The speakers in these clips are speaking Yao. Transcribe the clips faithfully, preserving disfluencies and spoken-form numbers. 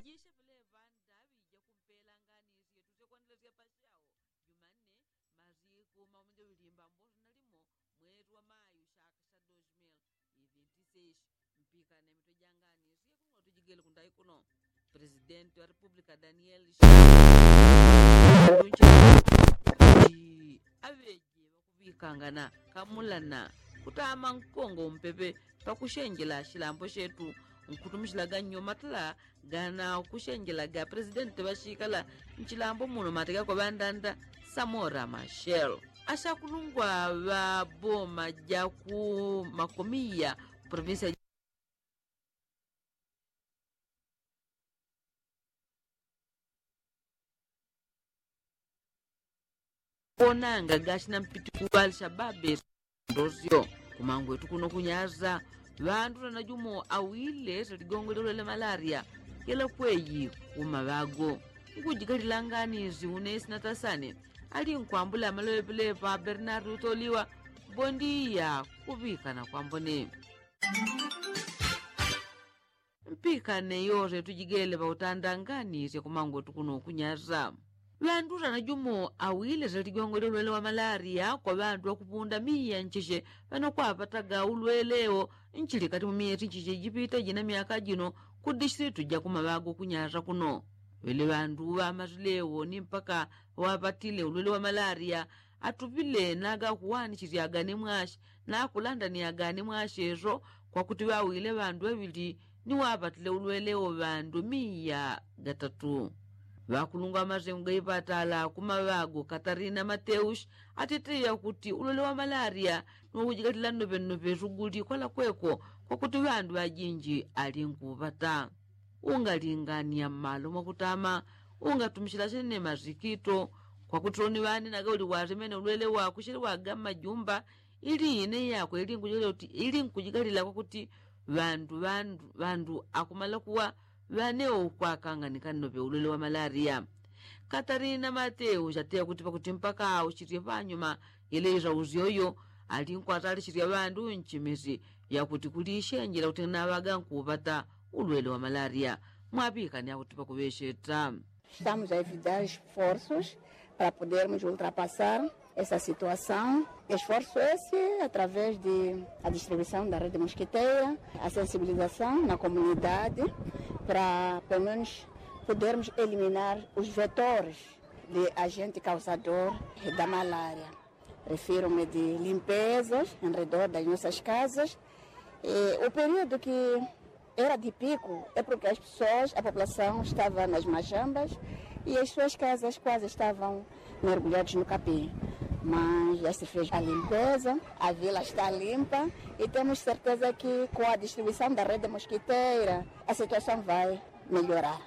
Jishe pele panda ŵija kumpela ngani syetu syekwandila syapashao. Jumanne, masiku maumi jawili mbamboso na limo, mwezi wa mayu shaka sha dos mil e vinte e seis. Mpikane mitwe ja ngani syetu tujigele kundayi kuno. Presidenti wa repupulika daniel aŵeje ŵakuŵikangana kamulana kutama nkongo umpepe pakushenjela shilambo shetu nkutumishilaga nyo matala gana kushenjelaga presidenti ŵashikala nshilambo muno mateka kwa ŵandanda samora mashel ashakulungwa ŵa boma ja ku makomiya provinsi ya konanga gashina mpiti ku alishababe ndosyo kumangwetu kuno kunyaza ŵandu tanajumo awile taligongo lilolele malaria yela kweyi kumaŵago nkujigalilangani ziune sinatasane ali nkwambula amaloŵeŵeleŵa bernardu toliwa bondiya kuŵikana kwambone mpikane yose tujigele ŵautandanganisye kumangotu kuno kunyasa ŵandu tanajumo awile salijongo lilwele wa malaria kwa ŵandu ŵakupunda miya ncheche ŵanokwapataga ulwelewo nchili kati mu miyeti ncheche jipita jina myaka jino ku dishilitu ja kumaŵago kunyasa kuno ŵele ŵandu ŵamasilewo ni mpaka ŵapatile ulwele wa malaria atupile nagakuwanishisyaga ni mwashi nakulandaniaga ni mwashi eso kwakuti ŵawile ŵandu ŵaŵili ni ŵapatile ulwele wo ŵandu miya gatatu ŵakulungwa ŵamasengo gaipatala kumaŵago katarina mateushi atiteya kuti ulwele wa malaria ni wakujigatila nnoŵennoŵe suguli kwala kweko kwakuti ŵandu ŵajinji ali nkuŵata ungalingania mmalo mwakutama ungatumishila sine masikito kwakuti soni ŵane nagauli wasemene ulwele wakushelewaga mmajumba ili ine yakwe ili nkujigalila kuti ili nkujigalila kwakuti ŵandu ŵandu ŵandu akumala kuwa ŵane ukwakanganika nnoŵe ulwele wa malaria katarina mateu chateya kuti pakuti mpaka aushilye panyuma yele isausyoyo ali nkwatalishisya ŵandu nchimisi yakuti kulishenjela kuti naŵaga nkuŵata ulwele wa malaria mwaŵikani akuti pakuŵesheta. Estamos a evitar esforços para podermos ultrapassar essa situação. Esforço esse através de a distribuição da rede mosquiteira, a sensibilização na comunidade para pelo menos podermos eliminar os vetores de agente causador da malária. Refiro-me de limpezas em redor das nossas casas. E o período que era de pico é porque as pessoas, a população estava nas machambas e as suas casas quase estavam mergulhadas no capim. Mas já se fez a limpeza, a vila está limpa e temos certeza que com a distribuição da rede mosquiteira a situação vai melhorar.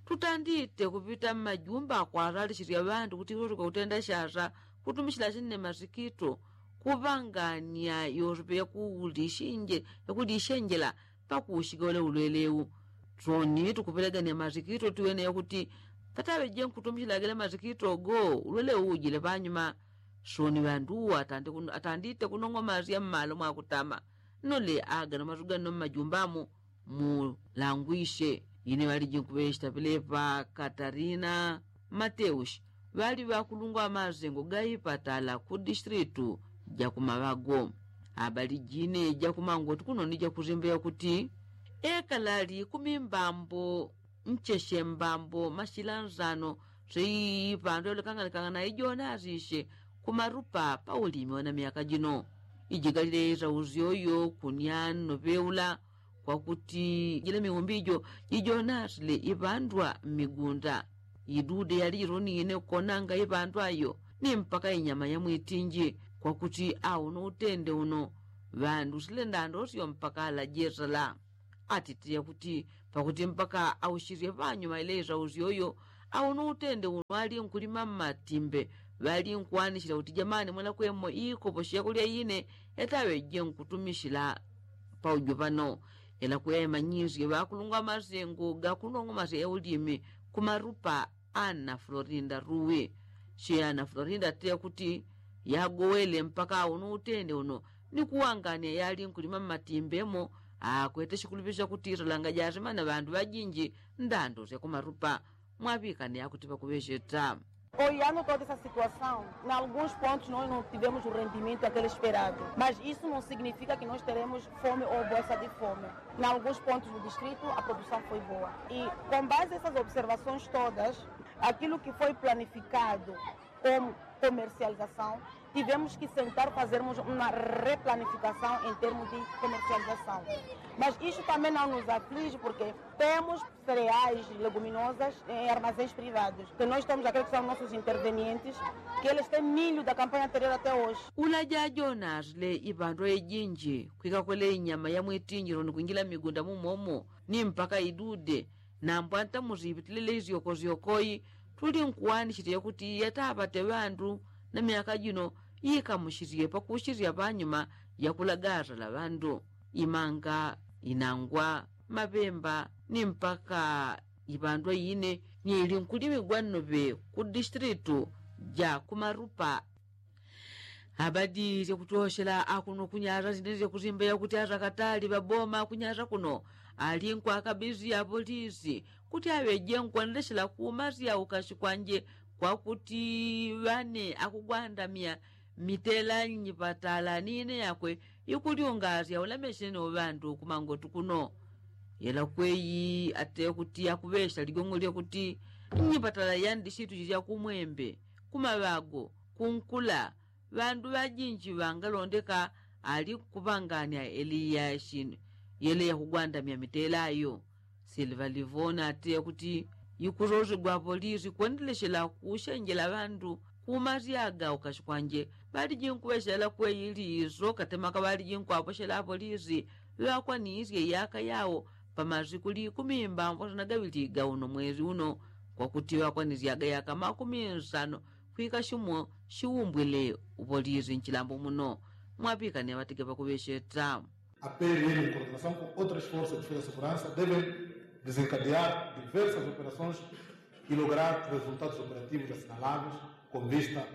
Tutandite kupita mmajumba akwatalishisya ŵandu kuti isosoka kutenda shasa kutumishila sine masikito kuŵangania yosepe yakulishenjela pakuushika ule ulwelewu soni tukupelegania masikito tiwene yakuti pataŵeje nkutumishila gele masikito go ulwelewu ujile panyuma soni ŵandu uwo atandite kunong'omasya mmalo mwakutama nole agano masu ganno mmajumba mu mulangwishe ine ŵaliji nkuŵeshita pilepa katarina mateushi ŵali ŵakulungwa ŵamasengo gaipatala ku dishitilitu jakumaŵago abaliji ine jakumangoti kuno ni jakusimba yakuti ekalali kumimbambo ncheshe mbambo mashila nsano seipandu yalokanganikangana ijonasishe kumarupa paulimi wana myaka jino ijigalile isausyoyo kunya nnoŵeula kwakuti jila miumbi ijo jijonasile iŵandwa mmigunda idude yalijilonine kukonanga iŵandwa yo ni mpaka inyama ya mwitinji kwakuti auno utende uno ŵandu sile ndandosyo mpaka alajesala atitile kuti pakuti mpaka aushilye panyuma ile isausyoyo auno utende uno ali nkulima mmatimbe ŵali nkuwanishila kuti jamani mwelakwemo ikopo shekulya ine yataŵeje nkutumishila paujo pano ela kuyaimanyisye ŵakulungwa masengo gakunong'omasya yaulimi kumarupa ana florinda ruwi she ana florinda atile kuti yagowele mpaka uno utende uno ni kuwangania yali nkulima mmatimbe mo akwete shikulupisho shakuti isalanga jasimana ŵandu ŵajinji ndando syakumarupa. Mwaŵikane akuti ŵakuŵecheta. Oyano toda essa situação, em alguns pontos nós não tivemos o rendimento aquele esperado, mas isso não significa que nós teremos fome ou bolsa de fome. Em alguns pontos do distrito a produção foi boa e, com base nessas observações todas, aquilo que foi planificado como comercialização, tivemos que sentar fazermos uma replanificação em termos de comercialização. Mas isso também não nos aflige porque temos cereais, leguminosas em armazéns privados, que nós temos aqueles que são nossos intervenientes, que eles têm milho da campanha anterior até hoje. Ulaja jonasile ipandwa ijinji kwikakwele inyama ya mwitinjilo ni kwingila mmigunda mumomo ni mpaka idude. Nambwanta musipitilile isyoko syokoi tuli nkuwanisile yakuti yatapate ŵandu na myaka jino yikamusisye pakusisya panyuma yakulagaza la ŵandu imanga inangwa mapemba ni mpaka ipandwa ine ni ilinkulimigwa nnoŵe ku distritu ja kumarupa. Abadi syakutoshela akuno kunyasa sinene syakusimba yakuti asakatali ŵaboma kunyasa kuno ali nkwakabisi apolisi kuti aŵeje nkwandeshela kumasya ukashi kwanje kwakuti ŵane akugwandamya mitela nyipatala ni ine yakwe ikulyungasya ulameshene uŵandu kumangwetu kuno. Yela kweyi ate kuti akuŵesha ligong'o lyakuti nyipatala yandi situ jilya kumwembe kumaŵago kunkula ŵandu ŵajinji ŵangalondeka ali kupanganya eliya shinu yele yakugwandamya mitela ayo. Silva livona ate kuti ikusosegwa apolisi kwendeleshela kushenjela ŵandu kumasyaga ukashi kwanje ŵaliji nkuŵeshela kweyi liso katemaka ŵaliji nkwaposhela apolisi ŵakwanisye yaka yawo pamasiku likumi mbambwasana gaŵili ga uno mwezi uno kwakuti ŵakwanisyaga yaka makumi nsano kwika shimo shiwumbwile upolisi nchilambo muno. Mwapikane ŵatige ŵakuŵesheta. A pl em coordenação com outras forças de segurança devem desencadear diversas operações e lograr resultados operativos assinaláveis com vista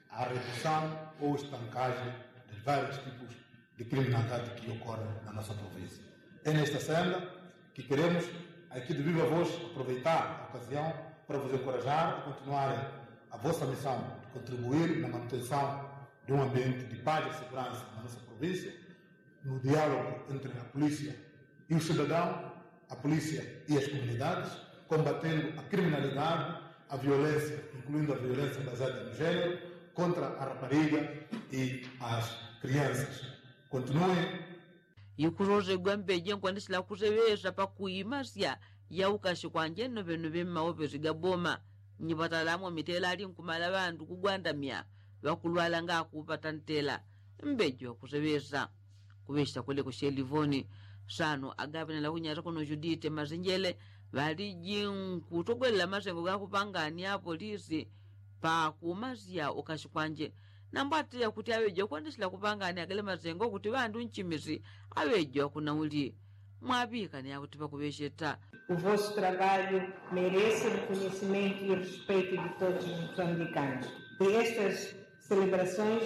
à redução ou estancagem de vários tipos de criminalidade que ocorrem na nossa província. É nesta senda que queremos aqui de viva voz aproveitar a ocasião para vos encorajar a continuarem a vossa missão de contribuir na manutenção de um ambiente de paz e segurança na nossa província, no diálogo entre a polícia e o cidadão, a polícia e as comunidades, combatendo a criminalidade, a violência, incluindo a violência baseada no género, contra a rapariga e as crianças. Continuem. Ikusosegwa mbeje nkwandisila kuseŵesa pakuimasya ya ukashi kwanje nnoŵenoŵe mmaopesi ga boma. Nyipatala mwamitela ali nkumala ŵandu kugwandamya ŵakulwala ngakupata ntela. Mbeje wakuseŵesa kuŵesha kweleko shelivoni. Sano agaŵenela kunyasa kuno judite masenjele ŵaliji nkutogwelela masengo gakupangania apolisi pakumasya ukashi kwanje. Nambo atile kuti aŵeje kwandisila kupangania gale masengo kuti ŵandu nchimisi aŵeje wakunauli. Mwaŵikane akuti ŵakuŵesheta. O vosso trabalho merece reconhecimento e respeito de todos os moçambicanos. E estas celebrações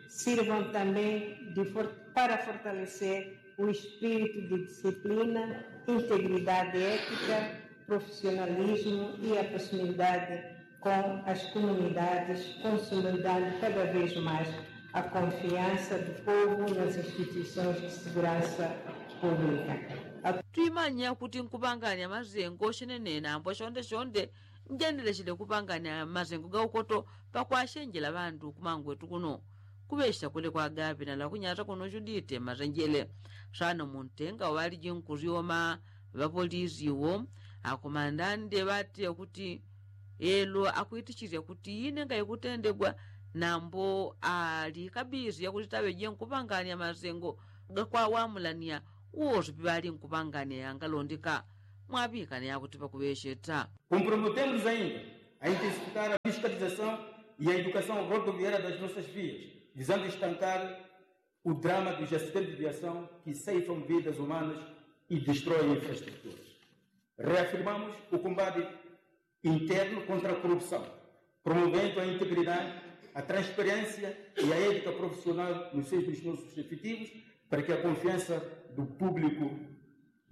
sirvam também de for- para fortalecer o espírito de disciplina, integridade ética, profissionalismo e a proximidade com as comunidades, consolidando cada vez mais a confiança do povo nas instituições de segurança pública. Twimanya kuti nkupangania masengo shenenena ambo shonde shonde njendeleshele kupangania masengo gaukoto pakwashenjela ŵandu kumangwetu kuno. Kuŵesha kule kwagaŵe nalakunyata kuno judite masenjele. Sano muntenga waliji nkusyoma ŵapolisi wo akomandande ŵatile kuti elo akwitichilya kuti ine ngaikutendegwa nambo ali kabisi yakuti taŵeje nkupangania masengo gakwawamulania wosi piŵali nkupangania yangalondeka. Mwaŵikane yakuti ŵakuŵesheta. Comprometemos ainda a intensificar a fiscalização e a educação rodoviária das nossas vias, visando estancar o drama dos acidentes de viação que ceifam vidas humanas e destroem infraestruturas. Reafirmamos o combate interno contra a corrupção, promovendo a integridade, a transparência e a ética profissional nos seios dos nossos efetivos, Para que a confiança do público.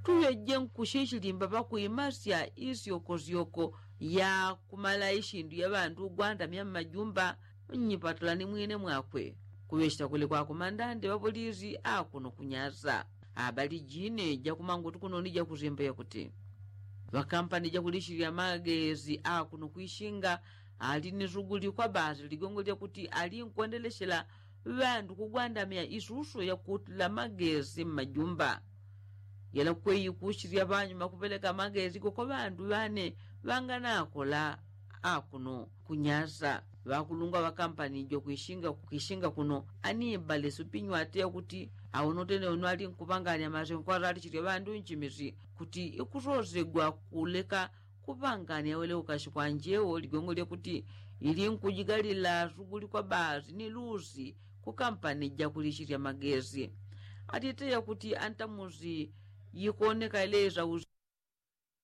Tuŵeje nkushi ishilimba pakuimasya isyokosyoko ya kumala ishindu ya ŵandu ugwandamya mmajumba nnyipatala ni mwine mwakwe. Kuŵechita kuli kwakumandande ŵapolisi akuno kunyasa. Abali jine jakumangutu kunoni jakusimba yakuti ŵakampani jakulishilila magesi akuno kwishinga ali ni suguli kwa basi ligongo lyakuti ali nkwendeleshela ŵandu kugwandamya isuso yakutila magesi mmajumba. Yela kweyi kushilya ŵanyuma kupeleka magesi goko ŵandu ŵane ŵanganakola akuno kunyasa. Ŵakulungwa ŵakampani jokwishinga kwishinga kuno anibale supinyu ateya kuti awono tene wono ali nkupanganya masengo kwazalishilya ŵandu nchimisi kuti ikusosegwa kuleka kupanganya wele ukashi kwa njewo ligongo lyakuti ili nkujigalila suguli kwa basi ni lusi ku kampani jakulishilya magesi. Atiteya kuti antamusi yikoneka ileza usi.